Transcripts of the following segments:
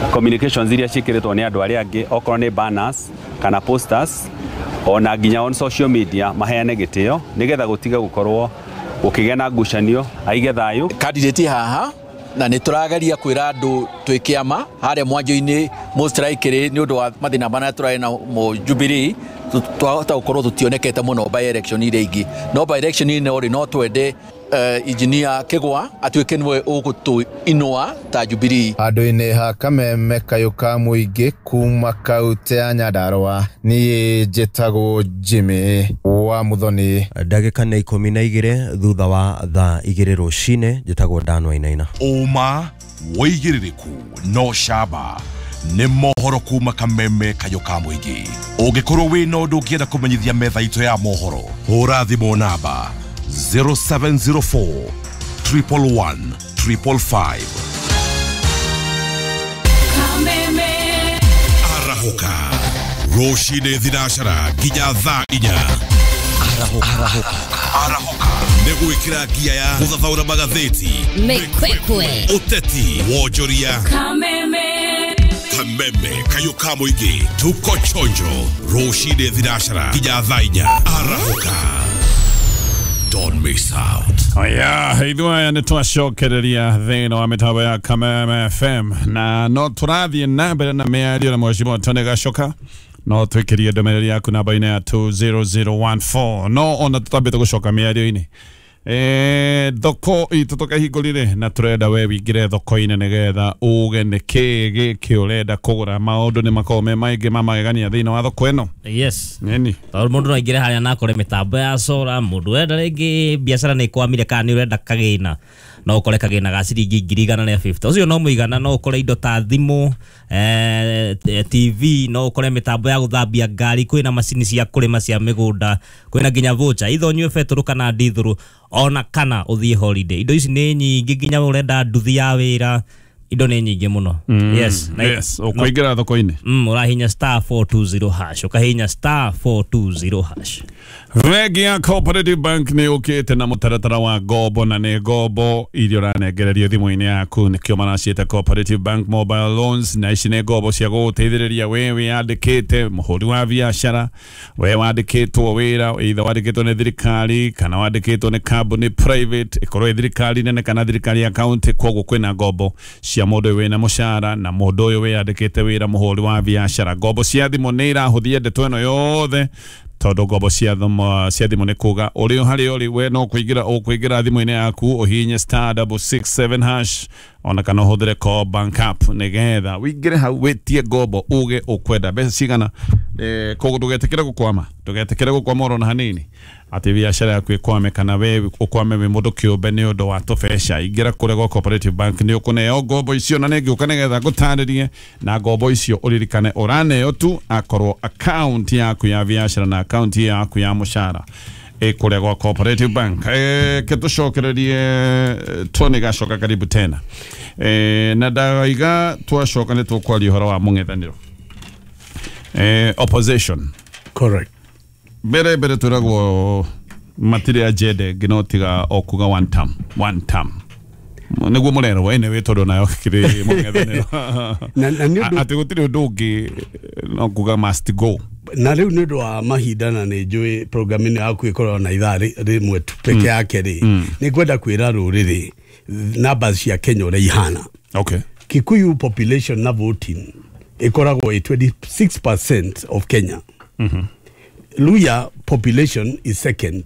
Communications iria ciĩkĩrĩtwo nĩ andũ arĩa angĩ, okorwo nĩ banners kana posters, ona nginya on social media, maheane gĩtĩo nĩgetha gũtige gũkorwo gũkĩgĩa na ngucanio, aige thayũ. Candidate haha na nä tå rageria kwä ra andå twä kä ama harä a mwanjo-inä most likely nä å ndå wa mathä na marĩa tũrarĩ namo Jubilee, twahota gũkorwo tũtionekete mũno by election iria ingĩ, no by election ĩno rĩ, no twende engineer Kĩgwa atuĩke nĩwe ũgũtũinũa ta Jubilee. Handũ-inĩ ha kameme kayũ ka mũingĩ kuma kaunti ya Nyandarũa, niĩ njĩtagwo Jimmy wa Muthoni. Ndagĩka nĩ 12 thutha wa thaa 2 rũcinĩ. Njĩtagwo Dan Wainaina. Ũma, wĩigĩrĩrĩku no camba nĩ mohoro kuma kameme kayũ ka mũingĩ. Ũngĩkorwo wĩna ũndũ ũngĩenda kũmenyithia metha itũ ya mohoro, hũra thimũ namba 0704 111 555. Arahũka rũcinĩ thinacara nginya thaa 4. Arahũka nĩ gwĩkĩra ngia ya gũthathaũra magathĩti, Mĩkwekwe, ũteti, wonjoria. Kameme kayũ ka mũingĩ, tuko chonjo rũcinĩ thinacara nginya thaa 4. Arahũka, don't miss out. Aya, ithuĩ aya nĩ twacokereria thĩinĩ wa mĩtambo ya Kameme FM na no tũrathiĩ na mbere na mĩario na Mheshimiwa Tony Gachoka. No twĩkĩrie ndũmĩrĩri yaku namba-inĩ ya 20014. No ona tũtambĩte gũcoka mĩario-inĩ, thoko itũ tũkahingũrire na tũrenda we wingĩre thoko-inĩ nĩgetha uge nĩ kĩĩ gĩkĩ ũrenda kũgũra. Maũndũ nĩ makoragwo me maingĩ ma magegania thĩinĩ wa thoko ĩno. Yes. Nini. Tondũ mũndũ no aingĩre harĩa na akore mĩtambo ya solar. Mũndũ wenda rĩngĩ biacara nĩ ĩkwamire kana nĩ ũrenda kagĩna, no ũkore kagĩna ga ciringi 150,000. Ũcio no mũigana. No ũkore indo ta thimũ, TV, no ũkore mĩtambo ya gũthambia ngari, kwĩna macini cia kũrĩma cia mĩgũnda, kwĩna nginya voucher itho ũnyue betũrũ kana ndithũrũ, ona kana ũthiĩ holiday. Indo ici nĩ nyingĩ, nginya ũrenda nduthi ya wĩra, indo nĩ nyingĩ mũno. Yes. Yes, ũkũingĩra thoko-inĩ. Ũrahinya *420#, ũkahinya *420#. Bengi ya Cooperative Bank nĩ ũkĩte na mũtaratara wa ngombo, na nĩ ngombo iria ũranengererio thimũ-inĩ yaku, nĩkĩo maraciĩta Cooperative Bank Mobile Loans. Na ici nĩ ngombo cia gũgũteithĩrĩria we wĩyandĩkĩte, mũhũri wa biacara, we wandĩkĩtwo wĩra, either wandĩkĩtwo nĩ thirikari kana wandĩkĩtwo nĩ kambuni private, ĩkorwo ĩ thirikari nene kana thirikari ya county. Koguo kwĩna ngombo cia mũndũ ũyũ wĩna mũcara na mũndũ ũyũ wĩyandĩkĩte wĩra, mũhũri wa biacara. Ngombo cia thimũ nĩ irahũthia ndeto ĩno yothe, tondũ ngombo cia thimũ nĩ kuga ũrĩ o harĩa ũrĩ, we no kũingĩra ũkũingĩra thimũ-inĩ yaku, ũhihinye *667# ona kana ũhũthĩre Co Bank app nĩgetha wĩingĩre hau wĩtie ngombo, uge ũkwenda mbeca cigana. Koguo ndũgetĩkĩre gũkwama, ndũgetĩkĩre gũkwama oro na hanini, atĩ biacara yaku ĩkwame kana we ũkwame wĩ mũndũ kĩũmbe nĩ ũndũ wa tũbeca. Ingĩra kũrĩa gwa Cooperative Bank, nĩ ũkũneo ngombo icio, na nĩ ngĩũka nĩgetha ngũtarĩrie. Na ngombo icio ũririkane ũraneo tu akorwo account yaku ya biacara na account yaku ya mũcara ĩ kũrĩa gwa Cooperative Bank. Ke tũcokererie Tony Gacoka, karibu tena. Na ndaiga twacoka nĩ tũkwaria ũhoro wa mũng'ethanĩro, opposition. Correct. Mbere mbere twĩragwo matirĩ agenda ĩngĩ no tiga o kuga one term, one term, nĩguo mũrerwo anyway, tondũ nayo kĩrĩ mũng'ethanĩro. Na nĩ ũndũ atĩ gũtirĩ ũndũ ũngĩ no kuga must go. Na rĩu nĩ ũndũ wa mahinda, na nĩ njũĩ program ĩno yaku ĩkoragwo na ithaa rĩmwe tu peke yake rĩ, nĩ ngwenda kwĩra rũrĩrĩ numbers cia Kenya ũrĩa ihana. Kikuyu population na voting ĩkoragwo ĩ 26% of Kenya. Luya population is second,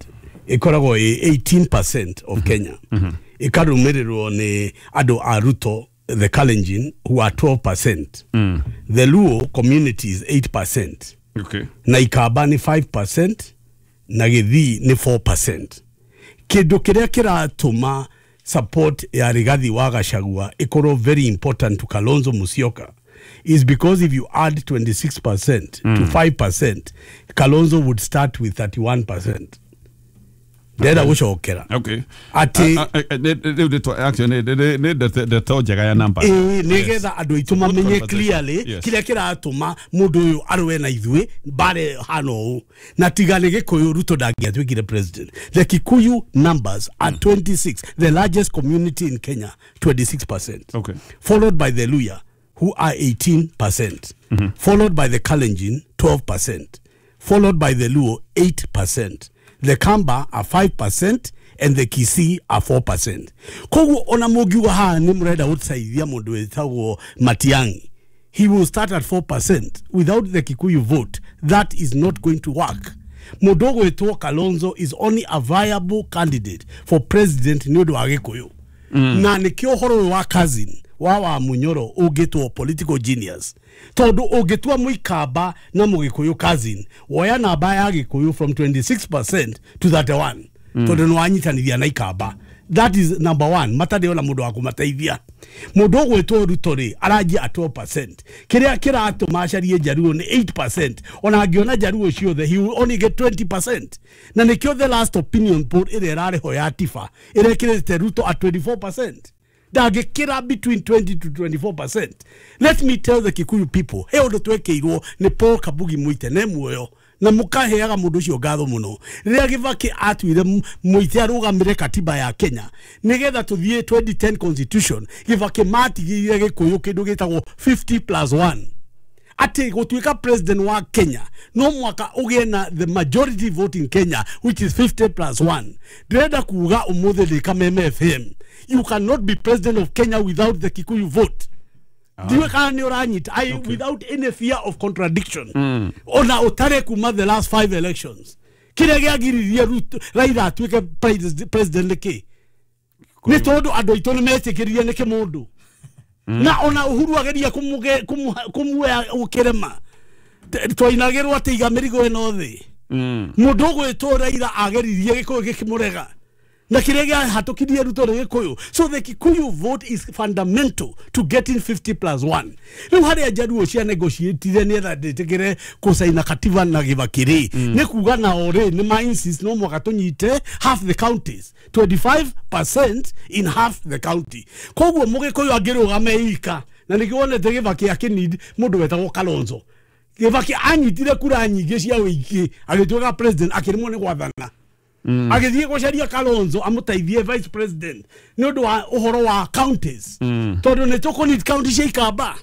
ĩkoragwo ĩ 18% of Kenya, ĩkarũmĩrĩrwo nĩ andũ a Ruto, the Kalenjin, who are 12%. The Luo community is 8%, na Ikamba nĩ 5% na Gĩthii nĩ 4%. Kĩndũ kĩrĩa kĩratũma support ya Rigathi wa Gachagua ĩkorwo very important to Kalonzo Musyoka is because if you add 26% to 5%, Kalonzo would start with 31%. Ndĩrenda gũcokera atĩ Rĩu nĩ actually nĩ ndeto njega ya namba. Ĩĩ, nĩgetha andũ aitũ mamenye Good clearly conversation. kĩrĩa kĩratũma mũndũ ũyũ arũe na ithuĩ mbare hana ũũ, na tiga nĩ Gĩkũyũ, Ruto ndangĩatuĩkire president. The Kikuyu numbers are 26, the largest community in Kenya, 26%, followed by the Luya. who are 18%, followed by the Kalenjin 12%, followed by the Luo 8%, the Kamba are 5% and the Kisii are 4%. Koguo ona mũngiuga haha nĩ mũrenda gũteithia mũndũ wĩtagwo Matiang'i, he will start at 4%. Without the Kikuyu vote, that is not going to work. Mũndũ ũgwĩtwo Kalonzo is only a viable candidate for president nĩ ũndũ wa Gĩkũyũ. Na nĩkĩo ũhoro ũyũ wa cousin wa Munyoro ũngĩtwo political genius, tondũ ũngĩtua mũikamba na mũgĩkũyũ cousin, woya namba ya Gĩkũyũ from 26% to 31, tondũ nĩ wanyitanithia na ikamba. That is number one. Matarĩ ona mũndũ wa kũmateithia. Mũndũ ũgwĩtwo Ruto rĩ aranjia at 12%. Kĩrĩa kĩratũma acarie Jaruo nĩ 8%. Ona angĩona Jaruo ciothe he will only get 20%. Na nĩkĩo the last opinion poll ĩrĩa ĩrarĩ ho ya Tifa ĩrekĩrĩte Ruto at 24%. Ndangĩkĩra between 20 to 24%. Let me tell the Kikuyu people, he ũndũ twekĩirwo nĩ Paul Kabugi Muite ne muoyo na mukaheaga mundu ucio ngatho muno riria Kibaki atuire Muite arugamire katiba ya Kenya nigetha tuthie 2010 constitution. Kibaki matigire Gikuyu kindu gitagwo 50+1 ati gutuika president wa Kenya no mwaka ugie na the majority vote in Kenya, which is 50+1. Ndirenda kuga umuthi ndi Kameme FM, you cannot be president of Kenya without the Kikuyu vote. Ndiwe kana nĩ ũranyita, without any fear of contradiction. Ona ũtare kuma the last 5 elections, kĩrĩa gĩagiririe Ruto Raila atuĩke president nĩkĩ? Nĩ tondũ andũ aitũ nĩ metĩkĩririe nĩ kĩmũndũ. Na ona Uhuru ageria kũmuoya gũkĩrema, twainagĩrwo atĩ iga mĩrigo ĩno thĩ. Mũndũ ũgwĩtwo Raila ageririe Gĩkũyũ gĩkĩmũrega, na kĩrĩa gĩahatũkirie Ruto nĩ Gĩkũyũ. So the Kikuyu vote is fundamental to getting 50+1. Rĩu harĩa Jaruo cia negotiatire nĩetha ndĩtĩkĩre kũcaina katiba na Kibaki rĩ, nĩ kuga nao rĩ nĩ ma insist no mwaka tũnyite half the counties, 25% in half the county. Koguo Mũgĩkũyũ angĩrũgame ika, na nĩkĩo wonete Kibaki akĩneed mũndũ wetagwo Kalonzo. Kibaki anyitire kura nyingĩ cia ũingĩ agĩtuĩka president, akĩremwo nĩ gwathana. Agĩthiĩ gũcaria Kalonzo amũteithie vice president nĩ ũndũ wa ũhoro wa counties, tondũ nĩ tũkũneed county cia Ikamba,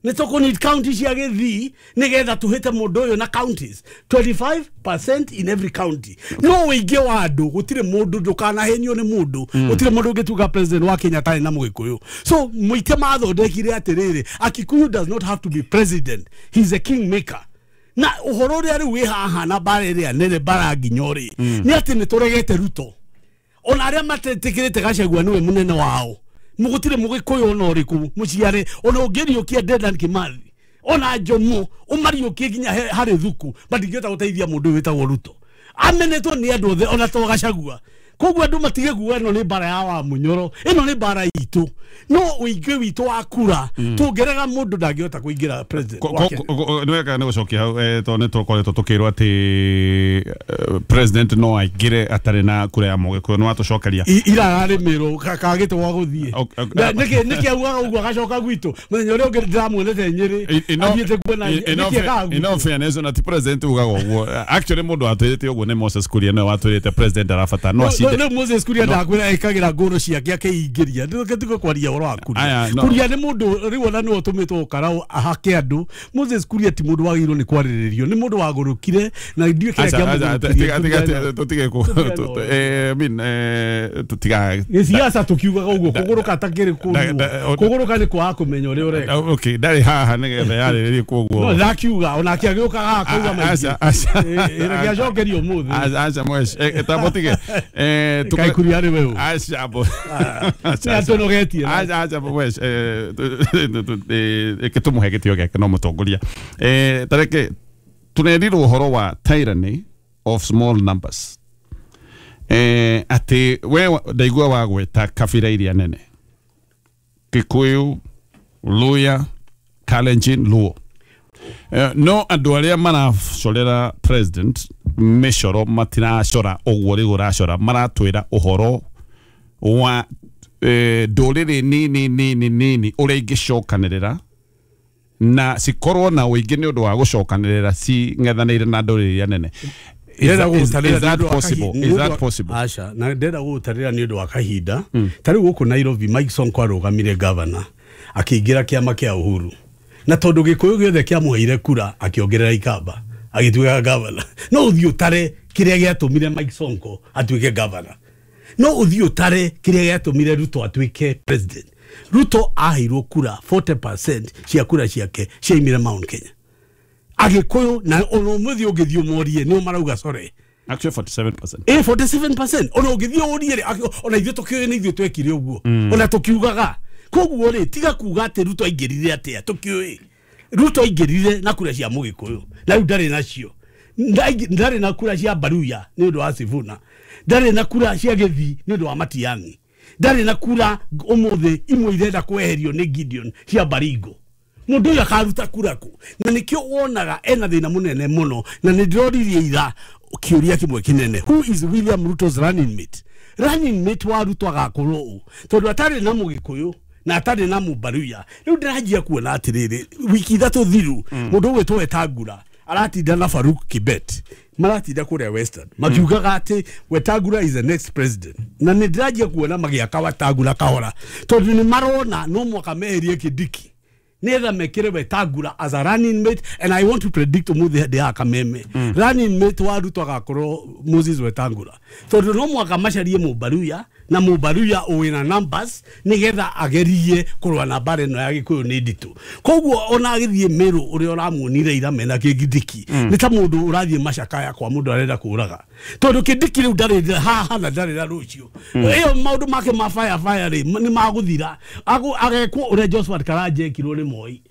nĩ tũkũneed county cia Gĩthii nĩgetha tũhĩte mũndũ ũyũ na counties 25% in every county. No ũingĩ wa andũ gũtirĩ mũndũ, ndũkanahenio nĩ mũndũ, gũtirĩ mũndũ ũngĩtuĩka president wa Kenya atarĩ na Mũgĩkũyũ. So Muite mathondekire atĩrĩrĩ, a Kikuyu does not have to be president, he's a kingmaker. Na ũhoro ũrĩa rĩu wĩ haha na mbara ĩrĩa nene mbara nginya rĩ, nĩ atĩ nĩ tũregete Ruto. Ona arĩa matetĩkĩrĩte Gachagua nĩwe mũnene wao, mũgũtirĩ Mũgĩkũyũ ona ũrĩkũ mũciare, ona ũngĩriũkia Dedan Kimathi ona Jomo ũmariũkie nginya harĩ Thuku, matingĩhota gũteithia mũndũ ũyũ wĩtagwo Ruto. Amenetwo nĩ andũ othe ona to Gachagua. Koguo andũ matige kuga ĩno nĩ mbara ya wa Munyoro, ĩno nĩ mbara itũ. No ũingĩ witũ wa kura tũngĩrega mũndũ ndangĩhota kũingĩra president wa Kenya. Nĩ wega nĩ gũcokia hau, tondũ nĩ tũkoretwo tũkĩrwo atĩ president no aingĩre atarĩ na kura ya Mũgĩkũyũ, nĩ watũcokeria. Ira ararĩmĩrwo kagĩte gwa gũthiĩ. Nĩkĩ augaga ũguo agacoka gwitũ? Mũthenya ũrĩa ũngĩ ndĩramuonete Nyĩrĩ athiĩte kuona nĩkĩ ekaga gwitũ. In all fairness, ona ti president ugaga ũguo. Actually mũndũ watwĩrĩte ũguo nĩ Moses Kuria, nĩwe watwĩrĩte president arabatara no acinde. Rĩu Moses Kuria ndakwĩra ekagĩra ngũrũ ciake akĩingĩria. Ndũke kwaria ũhoro wa Kuria. Kuria nĩ mũndũ rĩu ona nĩwe ũtũmĩtwo ũkarau ahake andũ. Moses Kuria ti mũndũ wagĩrĩirwo nĩ kwarĩrĩrio, nĩ mũndũ wagũrũkire na ndiũĩ kĩrĩa kĩamũgũrũkirie. Tũtige tũtiga gĩciaca tũkiugaga ũguo kũgũrũka takĩrĩ kũguo, kũgũrũka nĩ kwaga kũmenya ũrĩa ũreka. Okay, ndarĩ haha nĩgetha yarĩrĩrie koguo. No ndakiuga onake agĩũkaga haha akauga maingĩ. Reke acokerio ũmũthĩ. Aca mwesh, tamũtige. Kaĩ Kuria nĩwe ũ? Aca bo. Nĩ atũnogetie. Aca bo mwesh, reke tũmũhe gĩtĩo gĩake no mũtongoria. Tareke tũnerirwo ũhoro wa tyranny of small numbers. Atĩ we ndaigua wagweta kabira iria nene, Kikuyu, Luya, Kalenjin, Luo. No andũ arĩa maracorera president mĩcoro matiracora ũguo rĩu ũracora, maratwĩra ũhoro wa ndũrĩrĩ nini nini nini ũrĩa ingĩcokanĩrĩra na cikorwo na ũingĩ nĩ ũndũ wa gũcokanĩrĩra cing'ethanĩire na ndũrĩrĩ iria nene. Is that possible? Is that possible? Aca, na ndĩrenda gũgũtarĩra nĩ ũndũ wa kahinda. Ta rĩu gũkũ Nairobi Mike Sonko arũgamire governor, Akĩingĩra kĩama kĩa Uhuru na tondũ Gĩkũyũ gĩothe kĩamũheire kura akĩongerera Ikamba agĩtuĩka governor. No ũthiĩ ũtare kĩrĩa gĩatũmire Mike Sonko atuĩke governor, no ũthiĩ ũtare kĩrĩa gĩatũmire Ruto atuĩke president. Ruto aheirwo kura 40% cia kura ciake ciaimire Mount Kenya. Agĩkũyũ na ona ũmũthĩ ũngĩthiĩ ũmorie nĩo marauga sorry. Actually 47%. 47%. Ona ũngĩthiĩ ũrie rĩ, ona ithuĩ tũkĩũĩ nĩ ithuĩ twekire ũguo. Ona tũkiugaga. Koguo rĩ, tiga kuga atĩ Ruto aingĩrire atĩa, tũkĩũĩ. Ruto aingĩrire na kura cia Mũgĩkũyũ. Na rĩu ndarĩ nacio. Ndarĩ na kura cia Baruya nĩ ũndũ wa Sifuna. Ndarĩ na kura cia Gĩthii nĩ ũndũ wa Matiang'i. Ndarĩ na kura ũmũthĩ imwe irenda kweherio nĩ Gideon cia Baringo. Mũndũ ũyũ akaruta kura kũ? Na nĩkĩo wonaga ena thĩna mũnene mũno, na nĩ ndĩroririe ira kĩũria kĩmwe kĩnene. Who is William Ruto's running mate? Running mate wa Ruto agakorwo ũ? Tondũ atarĩ na Mũgĩkũyũ na atarĩ na Mũbaruya. Rĩu ndĩranjia kuona atĩrĩrĩ, wiki ithatũ thiru mũndũ ũgwĩtwo Wetangula aratinda na Farouk Kibet, maratinda kũrĩa Western makiugaga atĩ Wetangula is the next president. Na nĩ ndĩranjia kuona magĩaka Wetangula kahora, tondũ nĩ marona no mwaka meherie Kindiki nĩgetha mekĩre Wetangula as a running mate. And I want to predict ũmũthĩ ndĩ haha Kameme, running mate wa Ruto agakorwo Moses Wetangula, tondũ no mwaka macarie Mũbaruya na Mũbaruya wĩna numbers nĩgetha agerie kũrũa na mbara ĩno ya Gĩkũyũ nĩ nditũ. Koguo ona agĩthiĩ Meru ũrĩa ũramuonire ira mena Kindiki nĩ ta mũndũ ũrathiĩ macakaya kwa mũndũ arenda kũraga, tondũ Kindiki rĩu ndarĩ haha na ndarĩ na rũciũ. Ĩyo maũndũ make ma fire fire rĩ nĩ magũthira. Agekwo ũrĩa Josphat Karanja ekirwo nĩ Moi,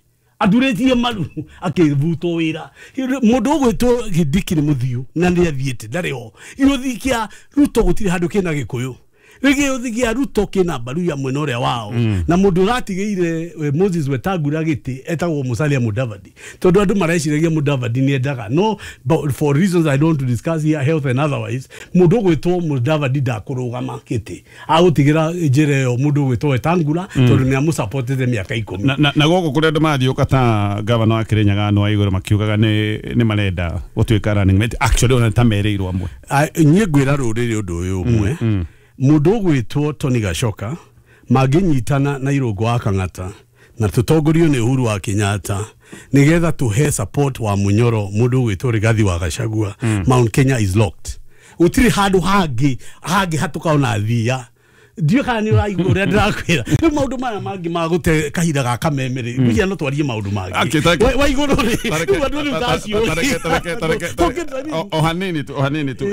aturĩtie maru akĩbutwo wĩra. Mũndũ ũgwĩtwo Kindiki nĩ mũthiũ na nĩ athiĩte, ndarĩ ho. Gĩũthi kĩa Ruto gũtirĩ handũ kĩna Gĩkũyũ. Gĩũthi kĩa Ruto kĩna Baruya mwena ũrĩa wao. Na mũndũ ũratigĩire Moses Wetangula gĩtĩ etagwo Musalia Mudavadi, tondũ andũ mareciragia Mudavadi nĩ endaga, no but for reasons I don't want to discuss here, health and otherwise, mũndũ ũgwĩtwo Mudavadi ndakũrũgama gĩtĩ, agũtigĩra njĩra ĩyo mũndũ ũgwĩtwo Wetangula tondũ nĩ amũsupportete mĩaka 10. Na gũkũ kũrĩa andũ mathiũka ta gavana wa Kĩrĩnyaga no aigũrũ makiugaga nĩ marenda gũtuĩka running mate. Actually ona ta merĩirwo amwe. Niĩ ngwĩra rũrĩrĩ ũndũ ũyũ ũmwe, mũndũ ũgwĩtwo Tony Gachoka mangĩnyitana na Irũngũ wa Kang'ata na tũtongorio nĩ Uhuru wa Kenyatta nĩgetha tũhe support wa Munyoro mũndũ ũgwĩtwo Rigathi wa Gachagua, Mount Kenya is locked. Gũtirĩ handũ hangĩ hatũkaona thia. Ndiũĩ kana nĩ ũraigua ũrĩa ndĩrakwĩra. Rĩu maũndũ maya mangĩ ma gũte kahinda ga Kameme rĩ, ngwĩciria no twarie maũndũ mangĩ. Wa igũrũ rĩ, rĩu andũ rĩu ndacio. O hanini tu, o hanini tu.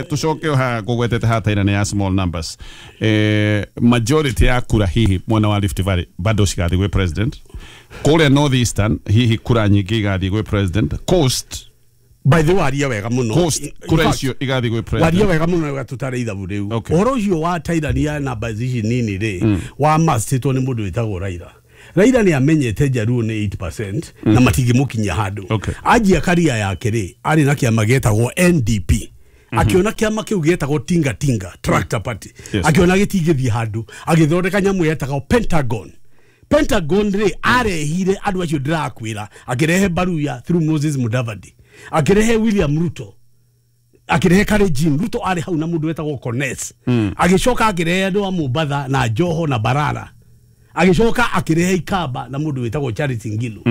Tũcoke haha ngũgwetete haha taira nĩ ya small numbers. Majority ya kura hihi mwena wa Rift Valley bado cigathiĩ gwĩ president. Kũrĩa North Eastern hihi kura nyingĩ igathiĩ gwĩ president. Coast By the way, waria wega muno. Coast kura icio igathiĩ gwĩ president. Waria wega muno wega tutare ithabu rĩu. Ũhoro ũcio wa tairania namba ici nini rĩ, wa mastĩtwo nĩ mũndũ wĩtagwo Raila. Raila nĩ amenyete Jaluo nĩ 8% na matingĩmũkinyia handũ. Anjia karia yake rĩ, arĩ na kĩama gĩetagwo NDP. Akiona kĩama kĩu gĩetagwo Tinga Tinga Tractor Party. Akiona gĩtingĩthiĩ handũ, agĩthondeka nyamũ yetagwo Pentagon. Pentagon rĩ, arehire andũ acio ndĩrakwĩra, akĩrehe Baruya through Moses Mudavadi, akĩrehe William Ruto, akĩrehe Kalenjin. Ruto arĩ hau na mũndũ wetagwo Kones. Agĩcoka akĩrehe andũ a Mombatha na Joho na Barara. Agĩcoka akĩrehe Ikamba na mũndũ wetagwo Charity Ngilu,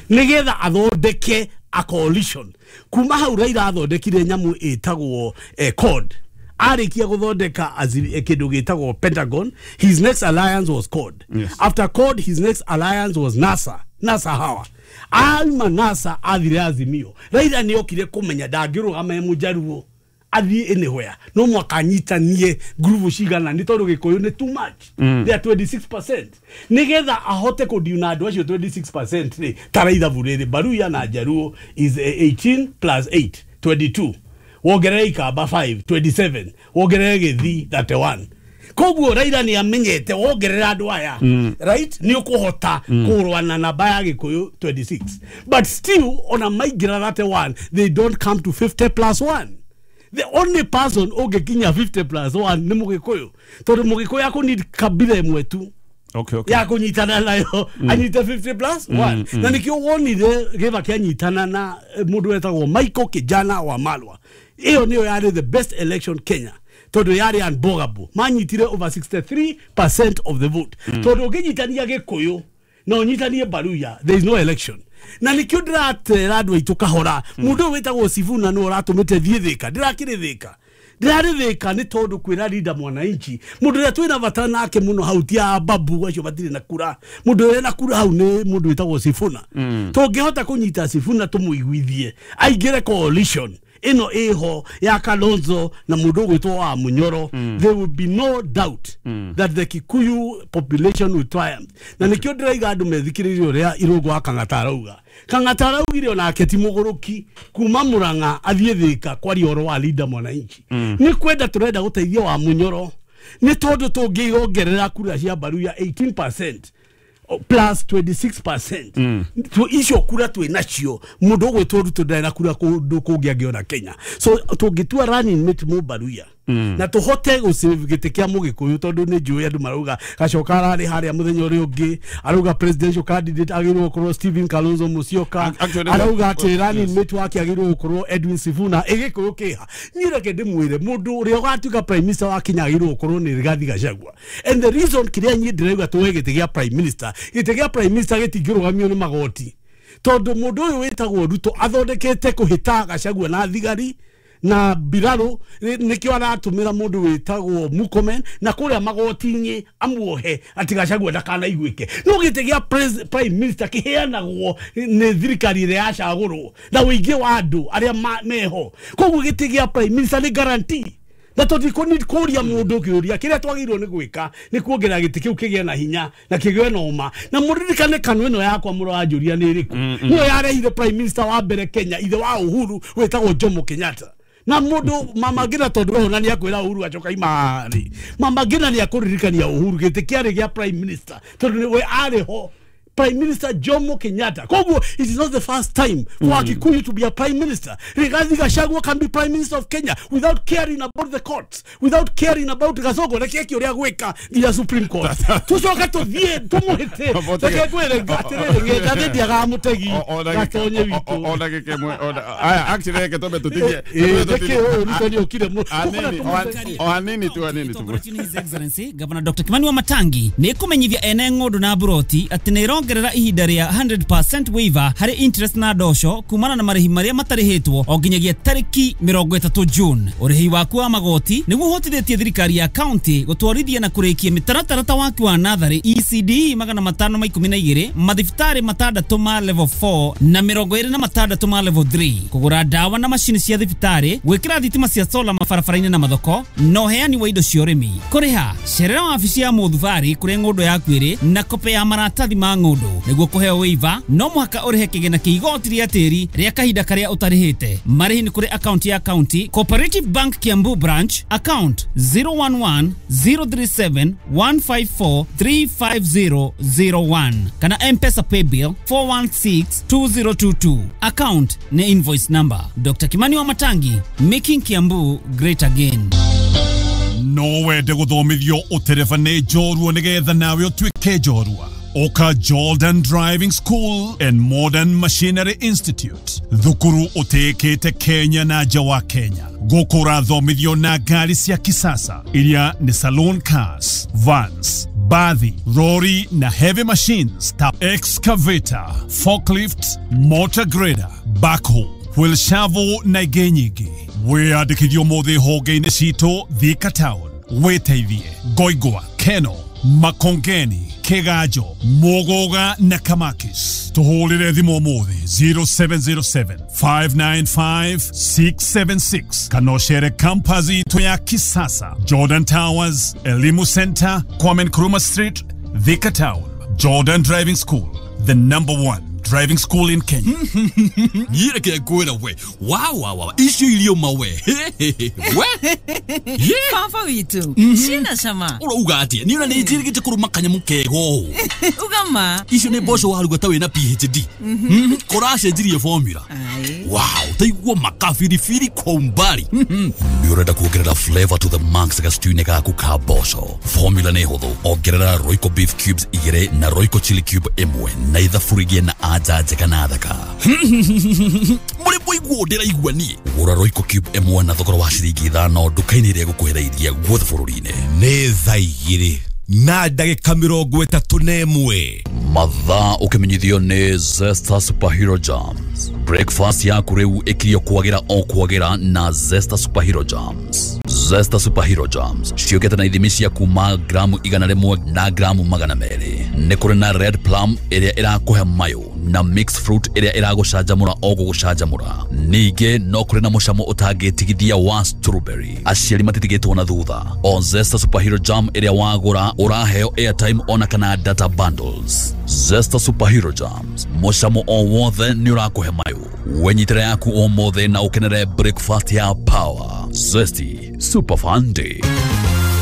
nĩgetha athondeke a coalition. Kuma hau Raila athondekire nyamũ ĩtagwo CORD. Arĩkia gũthondeka kĩndũ gĩtagwo Pentagon, his next alliance was CORD. After CORD, his next alliance was NASA. NASA hawa auma NASA athire Azimio. Raila nĩ okire kũmenya ndangĩrũgama e Mũjaruo athiĩ anywhere, no mwaka anyitanie ngurubu cigana nĩ tondũ Gĩkũyũ nĩ too much. They are 26%. Nĩgetha ahote kũdiuna andũ acio 26% rĩ, tara ithabu rĩrĩ, Baruya na Jaluo is 18 plus 8 22, wongerere Ikamba 5 27, wongerere Gĩthii 31. Koguo Raila nĩ amenyete wongerera andũ aya, right, nĩ ũkũhota kũrũa na namba ya Gĩkũyũ 26. But still ona maingĩra 31, they don't come to 50 plus 1. The only person ũngĩkinya 50 plus 1 nĩ Mũgĩkũyũ, tondũ Mũgĩkũyũ akũ kabira ĩmwe tu ya kũnyitana nayo, anyite 50 plus 1. Na nĩkĩo wonire Gĩbaki anyitana na mũndũ wetagwo Michael Kijana wa Malwa. Ĩyo nĩyo yarĩ the best election Kenya, tondũ yarĩ unbogable. Manyitire over 63% of the vote. Tondũ ũngĩnyitania Gĩkũyũ Na ũnyitanie Baruya, there is no election. Na nikio ndiratera andũ aitũ kahora. Mũndũ ũyũ wĩtagwo Sifuna nĩ ũratũmĩte thiĩ Thĩka. Ndirakĩrĩ Thĩka. Ndĩrarĩ Thĩka nĩ tondũ kwĩra Linda Mwananchi. Mũndũ ũrĩa twĩna bata nake mũno hau ti a Babu acio matirĩ na kura. Mũndũ ũrĩa na kura hau nĩ mũndũ wĩtagwo Sifuna. Tũngĩhota kũnyita Sifuna tũmũiguithie aingĩre coalition ĩno ĩho ya Kalonzo na mũndũ ũgwĩtwo wa Munyoro, there will be no doubt that the Kikuyu population will triumph. Na nĩkĩo ndĩraiga andũ methikĩrĩrie ũrĩa Irũngũ wa Kang'ata arauga. Kang'ata araugire onake ti mũgũrũki kuma Murang'a athiĩ Thĩka kwaria ũhoro wa Linda Mwananchi. Nĩ kwenda tũrenda gũteithia wa Munyoro nĩ tondũ tũngĩongerera kura cia Baruya 18% plus 26%. Icio kura twĩ nacio mũndũ ũgwĩtwo Ruto ndarĩ na kura kũndũ kũngĩ angĩona Kenya. So tũngĩtua running mate mũ Baruya na tũhote gũsave gĩtĩ kĩa Mũgĩkũyũ tondũ nĩ njũĩ andũ marauga Gacoka ararĩ harĩa mũthenya ũrĩa ũngĩ arauga presidential candidate agĩrĩirwo gũkorwo Stephen Kalonzo Musyoka, arauga atĩ running mate wake agĩrĩirwo gũkorwo Edwin Sifuna. Ĩgĩkũyũ kĩha niĩ reke ndĩmwĩre mũndũ ũrĩa ũgatuĩka prime minister wa Kenya agĩrĩirwo gũkorwo nĩ Rigathi Gachagua. And the reason kĩrĩa niĩ ndĩrauga tuoe gĩtĩ gĩa prime minister, gĩtĩ gĩa prime minister gĩtingĩrũgamio nĩ magoti tondũ mũndũ ũyũ wĩtagwo Ruto athondekete kũhĩta Gachagua na thigari na mbirarũ, nĩkĩo aratũmĩra mũndũ wĩtagwo Murkomen na kũrĩa magoti-inĩ amuohe atĩ Gachagua ndakanaiguĩke. No gĩtĩ gĩa prime minister kĩheanagwo nĩ thirikari ĩrĩa yacagũrwo na ũingĩ wa andũ arĩa meho. Koguo gĩtĩ gĩa prime minister nĩ guarantee. Na tũtikũ kũria mũndũ kĩũria kĩrĩa twagĩrĩirwo nĩ gwĩka nĩ kuongerera gĩtĩ kĩu kĩgĩe na hinya na kĩgĩe na ũma. Na mũririkane kanua ĩno yakwa mũranjũria nĩ ĩrĩkũ. Nĩyo yarehire prime minister wa mbere Kenya ithe wa Uhuru wĩtagwo Jomo Kenyatta. Na mũndũ Mama Ngina tondũ we ona nĩakwĩra Uhuru acoka imarĩ. Mama Ngina nĩakũririkania Uhuru gĩtĩ kĩarĩ gĩa prime minister tondũ nĩwe arĩ ho. Prime Minister Jomo Kenyatta. Koguo, it is not the first time for Kikuyu to be a prime minister. Rigathi Gachagua can be prime minister of Kenya without caring about the courts, without caring about Gacogo. Reke kĩũria gwĩka nginya Supreme Court. Tũcoke tũthiĩ tũmũhĩte. Reke ngwĩre atĩrĩrĩ, ng'enda ndiaga mũtegi gatonye witũ. O ndagĩka ĩmwe, aya, actually reke twambe tũtigie. Nĩkĩ ũyũ Ruto nĩokire O hanini tu, hanini tu. His Excellency Governor Dr. Kimani Wamatangi nĩ kũmenyithia ene ng'ũndũ na mburoti atĩ nĩ ĩrongerera ihinda rĩa 100% waiver harĩ interest na ndosho kumana na marĩhi marĩa matarĩhĩtwo o nginyagia tarĩki 30 June. Ũrĩhi waku wa magoti nĩguo ũhotithĩtie thirikari ya county gũtwarithia na kũrĩkia mĩtaratara ta waki wa natharĩ ECD 512, mathibitarĩ 6 ma level 4 na 26 ma level 3, kũgũra ndawa na macini cia thibitarĩ, gwĩkĩra thitima cia solar mabarabara-inĩ na mathoko, na ũheani wa indo cia ũrĩmi. Kũrĩha cerera wabici ya mũthubarĩ kũrĩa ng'ũndũ yaku ĩrĩ na kope ya maratathi ma ng'ũndũ. Nĩguo kũheo waiver no mũhaka ũrĩhe kĩgĩna kĩa igoti rĩa tĩri rĩa kahinda karĩa ũtarĩhĩte. Marĩhi nĩ kũrĩ akaunti ya county Cooperative Bank Kiambu branch account 011 037 154 35001 kana M-Pesa paybill 416 2022. Account ni invoice number. Dr. Kimani Wamatangi, making Kiambu great again. No wende gũthomithio ũtereba nĩ njorua nĩgetha nawe ũtuĩke njorua. Oka Jordan Driving School and Modern Machinery Institute. Thukuru ũtĩĩkĩte Kenya na nja wa Kenya. Gũkũ ũrathomithio na ngari cia kisasa iria nĩ saloon cars, vans, bathi, lorry na heavy machines ta excavator, forklift, motor grader, backhoe, wheel shovel na ingĩ nyingĩ. Wĩyandĩkithie ũmũthĩ honge-inĩ citũ Thika Town, Wĩteithie, Ngoingwa, Keno, Makongeni, Kigajo, Mugoga na Kamakis. Tuhũrĩre thimũ ũmũthĩ 0707 595 676 kana ũcere campus itũ ya kisasa Jordan Towers, Elimu Center, Kwame Nkrumah Street, Thika Town. Jordan Driving School, the number one driving school in Kenya. Nyireke ngwira we. Wow wow wow. Icio irio mawe. We. Baba witu. Cina cama. Urauga atia? Ni ona ni njirigite kuruma kanyamu kego. Uga ma. Icio ni mboco waruga ta wina PhD. Kuracenjirie formula. Wow, taigua makabiribiri kwa umbali. Ni urenda kuongerera flavor to the max gastew-inĩ gaku ka mboco. Formula nĩ hũthũ. Ongerera Royco beef cubes 2 na Royco chili cube 1 na ithaburi na anja njega na thaka. Mũrĩ mũiguo ndĩraigua niĩ. Gũra Royco cube 1 na thogora wa ciringi 5 nduka-inĩ ĩrĩa ĩgũkuhĩrĩirie guothe bũrũri-inĩ. Nĩ thaa 2 na ndagĩka 31. Mathaa ũkĩmenyithio nĩ Zesta Superhero Jams. Breakfast yaku rĩu ĩkirio kwagĩra o kwagĩra na Zesta Superhero Jams. Zesta Superhero Jams ciũkĩte na ithimi cia kuma gramu 100 na gramu 200. Nĩ kũrĩ na red plum ĩrĩa ĩrakũhe mayũ na mixed fruit ĩrĩa ĩragũcanjamũra o gũgũcanjamũra. Ningĩ no kũrĩ na mũcamo ũtangĩtigithia wa strawberry. Aciari matitigĩtwo na thutha. O Zesta Superhero Jam ĩrĩa wagũra ũraheo airtime ona kana data bundles. Zesta Superhero Jams, mũcamo o wothe nĩ ũrakũhe mayũ. Wenyitĩre yaku ũmũthĩ na ũkenere breakfast ya power. Zesty Super Fun Day.